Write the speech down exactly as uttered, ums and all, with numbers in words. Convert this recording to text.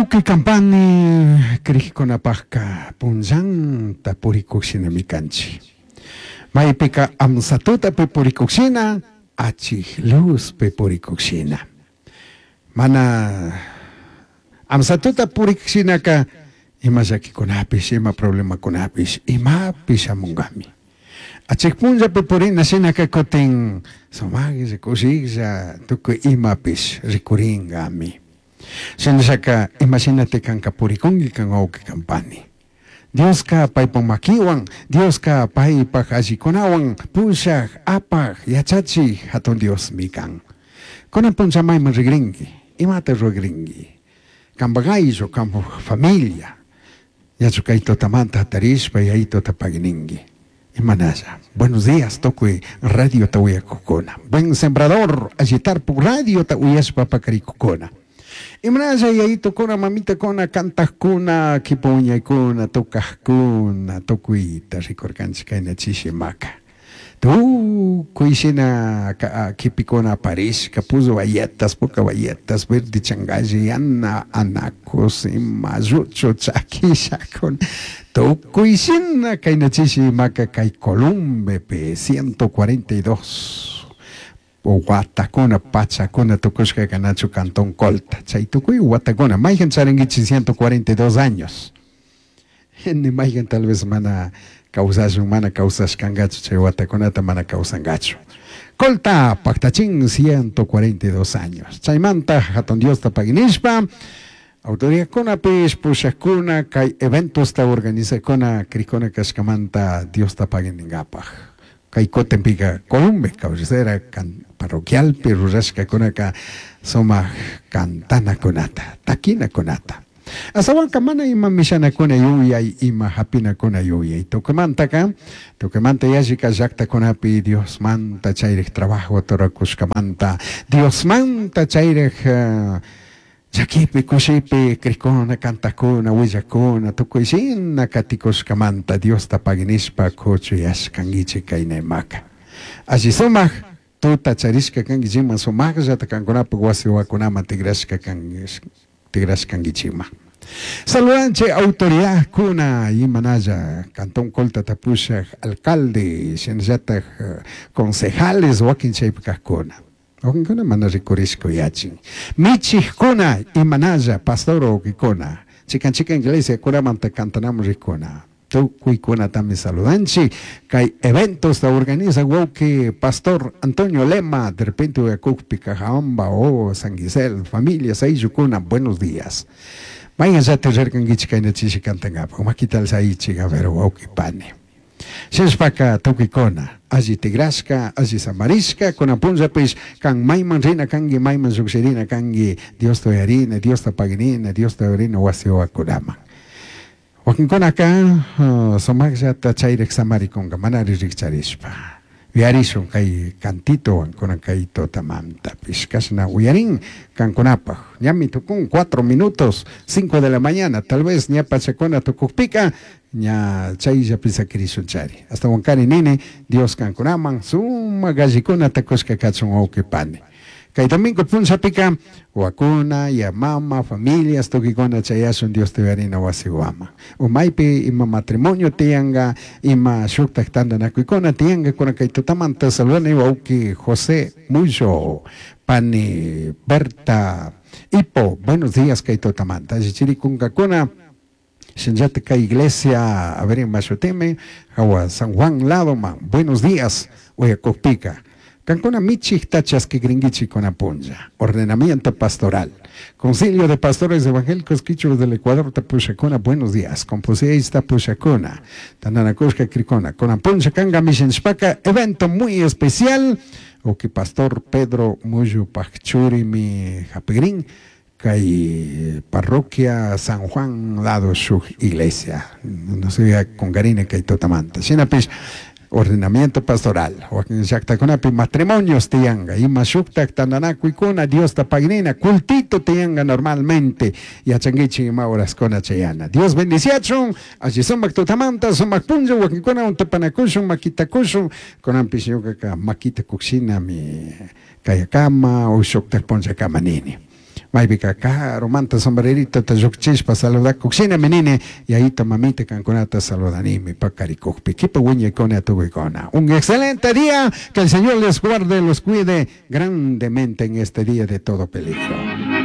Wawqi kampani krikkunapajka punllanta purikukshinami kanchik. Maypika amsatutapi purikukshina, achik luzpi purikukshina. Mana amsatuta purikshinaka ima llakikunapish, ima problemakunapish, imapish shamunkami. Achik punllapi purina shinaka kutin sumaklla, kushiklla, tukuy imapish rikurinkami. Shinallaka imashinati kanka purikunki kan wawqi kampani. Dioska paypak makiwan, Dioska paypak allikunawan pushak, apak, yachachik hatun Diosmi kan. Kunan punlla mayman rigrinki, imata ruragrinki, kanpak ayllu, kanpak familia, ñachu kay tutamanta hatarishpa yayituta pagininki. Imanalla. Buenos días, tukuy radiota uyakukuna. Buen Sembrador, allitarpuk radiota uyashpa pakarikukuna. Imanalla yayitukuna, mamitakuna, kantakuna, kipa wiñaykuna, tukajkuna, tukuyta rikurkanchik kayna chishimaka. Tukuy shina kipikuna aparishka, puzu bayetas, puka bayetas, verde changalli, yana, anacos, ima, lluchu, chakishakuna, tukuy shina kayna chishimaka kay Columbepi ciento cuarenta y dos watakuna, pachakuna tukushka kanachu Cantón Colta. Chay tukuy watakuna, mayhan charinkichik ciento cuarenta y dos años. Ni mayhan tal vez mana kawsashun, mana kawsashkankachu, chay watakunata mana kawsankachu. Colta, paktachin ciento cuarenta y dos años. Chaymanta hatun Diosta paginishpa, autoridadkunapish, pushakuna, kay eventosta organizakuna, krikuna kashkamanta Diosta pagininkapaj. Kay kutinpika Columbe, cabecera can, parroquialpi rurashkakunaka sumak kantanakunata, takinakunata. Asawanka mana ima mishanakuna yuyay, ima hapinakuna yuyay. Tukuymantaka, tukuymanta yallika llaktakunapi Diosmanta chayrik trabajo turakushkamanta, Diosmanta chayrik, eh, llakipi, kushipi, krikuna, kantakuna, willakuna, tukuy shina katikushkamanta Diosta paginishpa kuchuyashkankichik kaynaymaka. Alli sumak tuta charishka kankichikman, sumakllata kankunapak wasi wawakunaman tigrashka kankish, tigrashkankichikman. Saludanche autoridadkuna imanalla Cantón Colta tapushak alcalde, shinallatak, eh, concejales wakin chaypi kajkuna. Wakinkuna mana rikurishka yachin. Michijkuna imanalla pastor wawkikuna. Chikan chikan iglesia kunamanta kantanamun rikuna. Tukuykunatami saludanchik. Kay eventos ta organiza wawki pastor Antonio Lema, de repente uyakukpi Cajabamba o San Gisel, familias ayllukuna, buenos días. Mañana rirkankichik kayna chishi kantankapaq, makita alzaychik, a ver, wawki pani. Shinashpaka tukuykuna, alli tigrashka, alli samarishka, kunan punllapish kan mayman rina kanki, mayman lluqshirina kanki, Diosta uyarina, Diosta paginina, Diosta uyarina wasi wawakunaman. Wakinkunaka, uh, sumakllata chayrik samarikunka, manari rikcharishpa. Uyarishun kay kantitowan kunan kay tutamantapish, kashna uyarin kankunapaj. Ñami tukun cuatro minutos, cinco de la mañana, tal vez ña pachakuna tukukpika, ña chayllapi sakirishun chari. Hasta wankari nini, Dios kankunaman, suma gallikuna takushka kachun wawqi pani. Kay domingo punllapika, wakuna, ya mama, familias, tukikuna chayashun Dios te uyarina wasi wama. Umaypi ima matrimonio tiyanka, ima shuktak tantanakuykuna tiyanka, kuna kay tutamanta saludani wawqi José Muyo, pani Berta Ipo, buenos días kay tutamanta. Allichirikunkakuna, shinllata kay iglesia, a ver, mashutime, hawa San Juan Ladoman, buenos días, uyakukpika. Kankuna michikta chaskikrinkichik kuna punlla. Ordenamiento pastoral. Concilio de Pastores Evangélicos Quichuas del Ecuador tapushakuna, buenos días. Compuseista pushakuna. Tananakushka krikuna. Kuna punlla kanga mishinshpaka, evento muy especial. Oki Pastor Pedro Muyu Pachuri mi japigrin. Kay parroquia San Juan lado shuk iglesia. No sé, con garina kay totamanta. Shinapish, ordenamiento pastoral. Wakin llaktakunapi matrimonios tiyanga, ima shuktak tantanakuykuna, Diosta paginina, cultito tiyanga normalmente, yachankichik ima horaskuna chayana. Dios bendiciachun, alli sumak tutamanta, sumak punlla, wakinkuna untapanakushun, makitakushun, kunanpish ñukaka makita kukshinami kayakama o shuktak punllakama nini. Maypika karumanta sombreritota llukchishpa saludakuq shinami nini, yayito mamita kankunata saludanimi pakarikukpi. Kipa wiñaykuna tukuykuna. Un excelente día, que el Señor les guarde, los cuide grandemente en este día de todo peligro.